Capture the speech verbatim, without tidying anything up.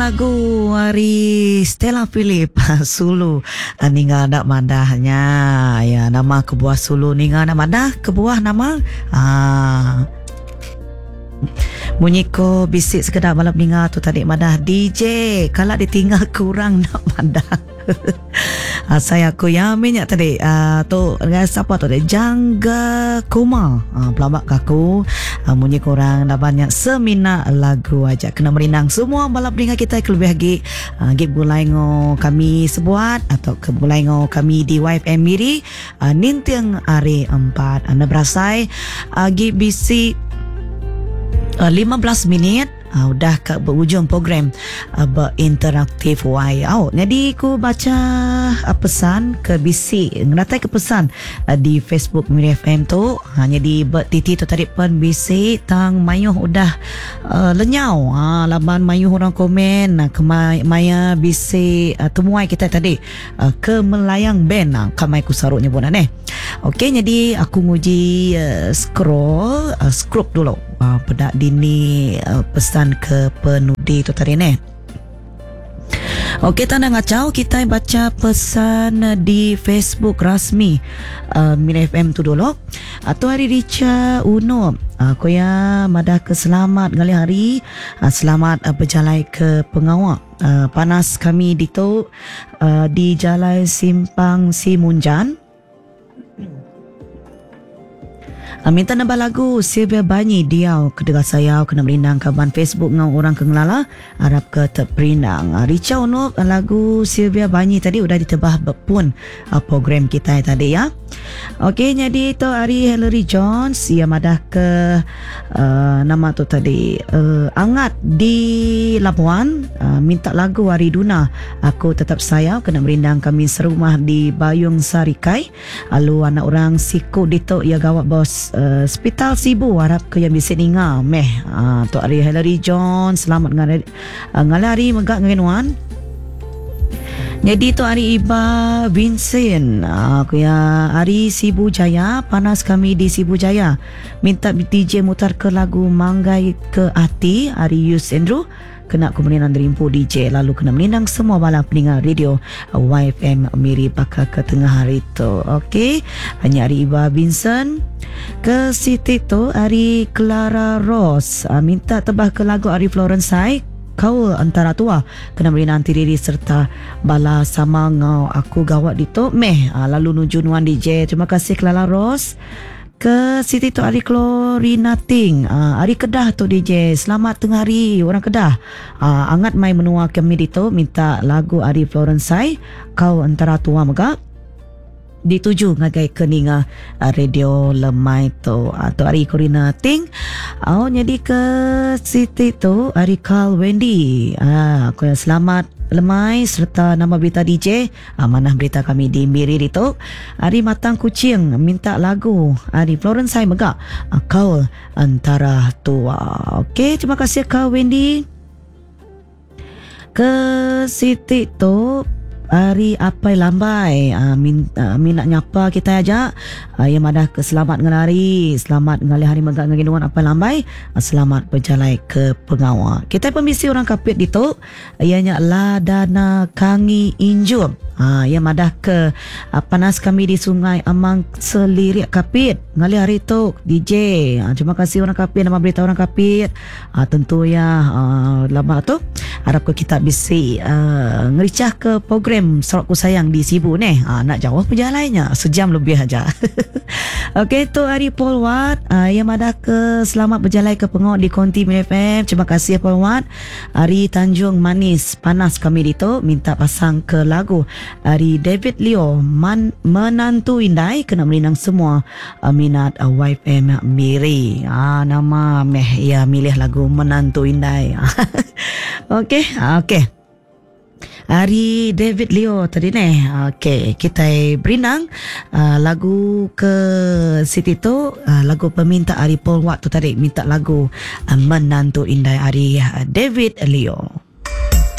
Lagu ari Stella Philip Sulu ninga enda madah nya. Ya nama kebuah sulu ninga enda madah kebuah nama aa munyi ko bisi sekeda bala peninga tu tadi madah D J kala ditinggal kurang enda madah. Asai aku ya mih nya tadi uh, tu dengan siapa tu tadi Jangga Kuma uh, pelaba ke aku uh, munyi korang laban nya semina lagu aja kena merindang semua bala peninga kita ke lebih agi uh, agi begulai ngo kami sebuat atau ke begulai ngo kami di Y F M Miri uh, ninting hari empat anda berasai agi bisi uh, lima belas minit Uh, udah ke berujung program uh, berinteraktif Y. Oh, jadi ku baca uh, pesan ke bisi ngenatai ke pesan uh, di Facebook Miri F M tu. Ha, jadi bertiti tu tadi pun bisi tang mayuh udah uh, lenyau. Ha, laban mayuh orang komen uh, kemai maya bisi uh, temuai kita tadi uh, ke Melayang Band uh, kamai ku saruk nyebut aneh. Okey, jadi aku nguji uh, scroll uh, scroll dulu. Uh, pedak dini uh, pesan ke penudi tu tadi ni. Okey, tanda ngacau kita baca pesan di Facebook rasmi uh, Miri F M tu dulu. Atau hari Richa Uno. Uh, koya madah ke selamat ngalih hari, uh, selamat uh, berjalai ke pengawak. Uh, panas kami di tu uh, di Jalai Simpang Simunjan. Minta nambah lagu Sylvia Banyi Diau Kedegah Sayau kena merindang kaban Facebook ngau orang ke ngelala arap ke terperindang. Richa Unup lagu Sylvia Banyi tadi udah ditebah pun program kita tadi ya. Okey, jadi tu hari Hillary Jones ia madah ke uh, nama tu tadi uh, Angat di Labuan uh, minta lagu hari Duna Aku Tetap Sayau kena merindang kami serumah di Bayung Sarikai. Lalu anak orang siku ditu ia gawat bos uh, Hospital Sibu harap ke yang bisa ninga meh. Uh, tu hari Hillary Jones selamat ngalih uh, ngalih megak ngenuan. Jadi tu hari Iba Vincent. Aku ya hari Sibu Jaya, panas kami di Sibu Jaya. Minta D J mutar ke lagu Manggai ke Hati hari Yus Andrew. Kena kemudian derimpu D J lalu kena menindang semua bala pendengar radio Y F M Miri bakal ke tengah hari tu. Okey, hanya hari Iba Vincent. Ke Siti tu hari Clara Rose. Minta tebah ke lagu hari Florence Sai. Kau antara tua kena beri nanti diri serta bala sama ngau aku gawat di tu meh. Ha, lalu nuju nuan D J. Terima kasih Clara Rose. Ke Siti tu hari Chlorina Ting. Ha, hari Kedah tu D J. Selamat tengah hari orang Kedah. Ha, angat mai menua kami di tu minta lagu hari Florence Sai Kau antara tua megak dituju ngagai keninga radio lemai tu atau hari Corina Ting. Oh, jadi ke Siti tu hari Carl Wendy. Ah, aku yang selamat lemai serta nama berita D J. Ah, manah berita kami di Miri itu. Hari Matang Kucing minta lagu hari Florence Sai megak Kau antara tua. Okey, terima kasih Carl Wendy. Ke Siti tu hari Apai Lambai uh, min, uh, minat nyapa kita aja uh, yang madah ke selamat ngelari selamat ngalih hari megak ngeginuan Apai Lambai uh, selamat berjalai ke pengawal kita pemisi orang Kapit ditu ianya Ladana Kangi Injum. Ha, yang madah ke uh, panas kami di Sungai Amang Selirik Kapit ngalih hari tu D J. Ha, terima kasih orang Kapit nama berita orang Kapit. Ha, tentu ya uh, lama tu harap ke kita bisi uh, ngericah ke program Sarawakku Sayang di Sibu ni. Ha, nak jauh perjalanannya sejam lebih aja. Okey, tu hari Paul Watt uh, yang madah ke selamat berjalan ke pengok di Konti M F M. Terima kasih Paul Watt. Hari Tanjung Manis panas kami di tu minta pasang ke lagu hari David Leo Man, Menantu Indai kena merindang semua uh, minat uh, Y F M Miri. Ah, nama meh ya milih lagu Menantu Indai. Okey, okey. Hari David Leo tadi ni. Okey, kita berindang uh, lagu ke Siti tu uh, lagu peminta hari Paul Watt tu tadi minta lagu uh, Menantu Indai hari uh, David Leo.